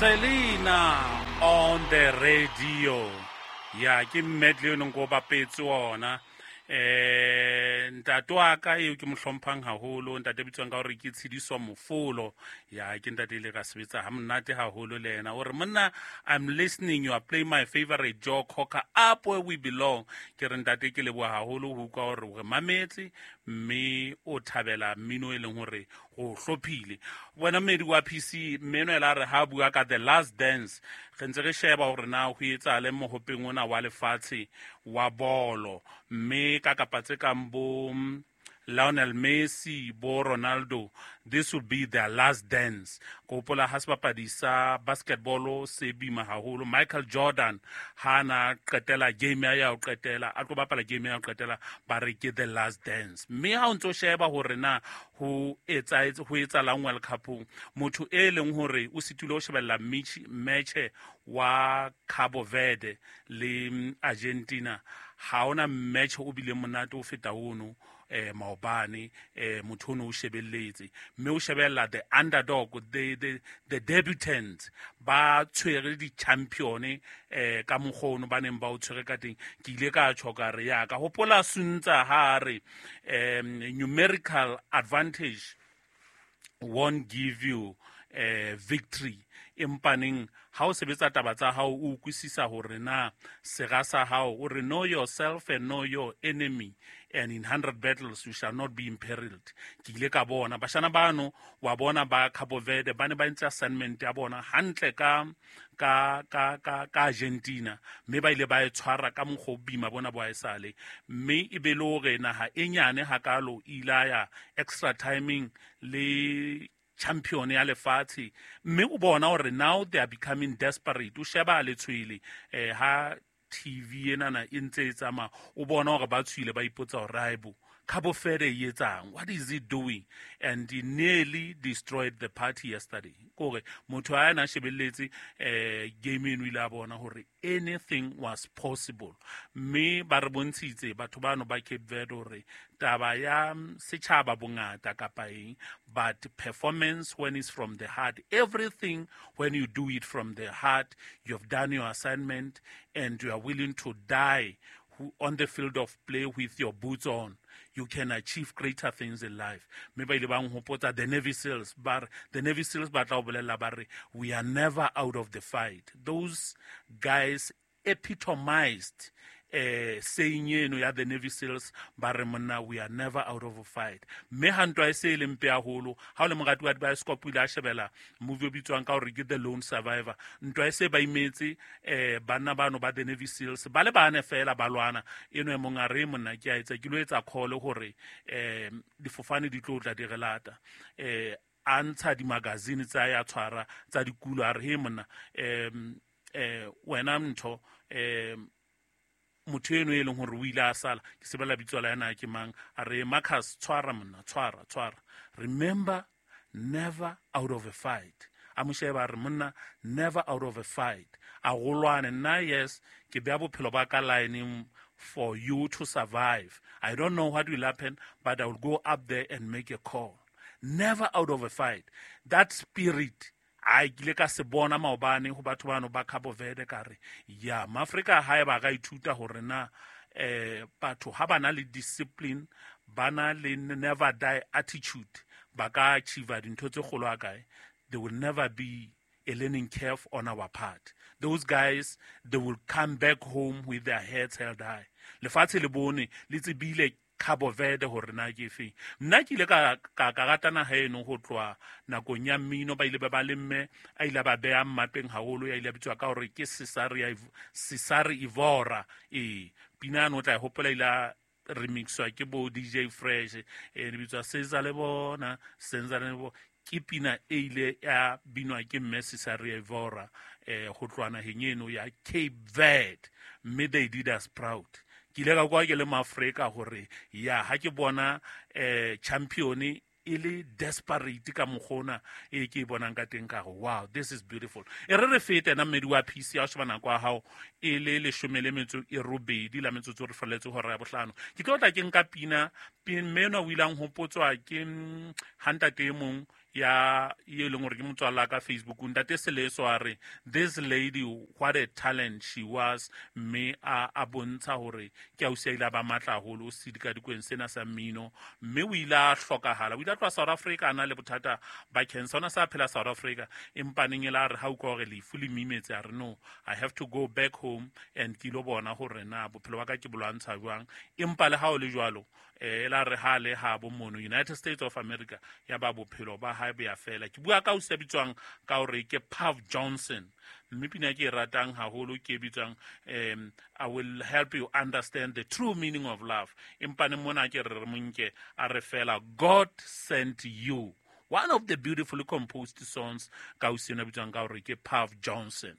Selena on the radio. Ya ke medley o neng ko bapetse ona. Ntate wa ka eo ke mo hlomphang haholo, ntate bitswang ka hore ke Tshidiso Mofolo. Ya ke ntate ile ka sebetsa ha monate haholo le yena. O re monna, I'm listening, you are playing my favorite Joe Cocker, Up Where We Belong. Ke re ntate ke leboha haholo ho utlwa hore o re mametse mme o thabela mmino e leng hore o hlophile. Wena mmedi wa PC, mmeno ela re ha bua ka The Last Dance, re ntse re sheba hore na ho etsahale mohopeng ona wa lefatshe wa bolo, mme ka kapa tse kang bo Lionel Messi, bo Ronaldo, this will be their last dance. Ko hopola ha sebapadi sa basketball se bima haholo, Michael Jordan ha na qetela game ya ho qetela, a tlo bapala game ya ho qetela, ba re ke the last dance. Mme ha o ntso sheba hore na ho etsahetse, ho etsahalang World Cup-ong, motho e leng hore o sitile ho shebella match wa Cabo Verde le Argentina, ha ona match o bile monate o feta ono. Maobane motho ono o shebelletse, mme o shebella the underdog, the debutants ba tshwere di-champion ka mokgwa ono ba neng ba o tshwere ka teng. Ke ile ka tjho ka re ya ka hopola Suntsa ha re numerical advantage won't give you victory, empaneng ha o sebetsa taba tsa hao o utlwisisa hore na sera sa hao, o re know yourself and know your enemy, and in 100 battles you shall not be imperiled. Ke ile ka bona bashana bano wa bona ba Cabo Verde ba ne ba entse assignment ya bona hantle ka Argentina, mme ba ile ba e tshwara ka mokgwa o boima bona bo haesale, mme e be le hore naha e nyane hakalo e ile ya extra timing le champion ya lefatshe, mme o bona hore now they are becoming desperate. O sheba letshwele ha TV enana e ntse e tsamaya, o bona hore ba tshwile, ba ipotsa hore haebo Cabo Verde e etsang, what is it doing? And he nearly destroyed the party yesterday. Kore motho a na shebelletse game eno ile a bona hore anything was possible, mme ba re bontshitse batho bano ba Cape Verde hore taba ya setjhaba bongata kapa eng, but performance when it's from the heart, everything when you do it from the heart, you have done your assignment and you are willing to die on the field of play with your boots on, you can achieve greater things in life. Mme ba ile ba nhopotsa the Navy SEALs, ba re the Navy SEALs ba tla o bolella ba re we are never out of the fight. Those guys epitomized saying eno ya the Navy SEALs, ba re monna we are never out of a fight. Mme ha ntwa e se e le mpe haholo, ha o le morati wa bioscope o ile a shebela movie o bitswang ka hore ke The Lone Survivor, ntwa e se ba imetse banna bano ba the Navy SEALs ba le bane fela ba lwana, eno e mong a re monna ke a etsa ke lo etsa call hore difofane di tlo tla di re lata, a ntsha di-magazine tsa ya tshwara tsa dikulo, a re he monna wena ntho motho eno e leng hore o ile a sala, ke sebela bitso la yena ke mang, a re Marcus tshwara monna, tshwara tshwara, remember never out of a fight. A mo sheba a re monna never out of a fight, a golwane nna yes ke beya bophelo ba ka line for you to survive, I don't know what will happen but I will go up there and make a call. Never out of a fight, that spirit a kile ka se bona maobane ho batho bano ba Cabo Verde, ka re ya Maafrika ha e ba ka ithuta hore na batho ha ba na le discipline, ba na le never die attitude, ba ka achieve dintho tse kgolo ha kae, there will never be a learning curve on our part. Those guys, they will come back home with their heads held high. Lefatshe le bone le tsebile Cabo Verde hore na ke efeng. Nna ke ile ka rata naha eno ho tloha nakong ya mmino, ba ile ba ba le mme a ile ba beha mmapeng haholo, ya ile a bitswa ka hore ke Cesare Evora. Pina eno o tla e hopola ile a remixwa ke bo DJ Fresh, e bitswa Cesar le bona, Cesar le bona. Ke pina e ile ya binwa ke mme Cesare Evora ho tloha naheng eno ya Cape Verde, mme they did us proud. Ke ile ka kwa ke le Maafrika hore ya ha ke bona champion e le desperate ka mokgona e ke e bonang ka teng, ka re wow, this is beautiful. E re re fete na mmedi wa PC ya sheba nako ya hao e le 18 la metsotso re felletse hora ya bohlano. Ke tlo tla ke nka pina mme enwa o ile a nhopotswa ke ha ntate e mong Ya e leng gore ke motswalla ka Facebook, ntate Seleso, a re this lady, what a talent she was. Mme a bontsha hore ke ausi a ile a ba matla haholo sedikadikweng sena sa mmino, mme o ile a hlokahala. O ile a tloha South Africa a na le bothata ba cancer. Ona sa phela South Africa, empa neng e la re ha utlwa hore lefu le mimetse, a re no, I have to go back home and ke ilo bona hore na bophelo ba ka ke bo lwantsha jwang. Empa le ha o le jwalo, e la re ha le ha bo mono United States of America, ya ba bophelo ba hae bo ya fela. Ke bua ka ausi ya bitswang ka hore ke Puff Johnson, mme pina ke e ratang haholo ke e bitswang I Will Help You Understand the True Meaning of Love. Empa ne mona ke re re monke a re fela God Sent You, one of the beautifully composed songs ka ausi ena bitswang ka hore ke Puff Johnson.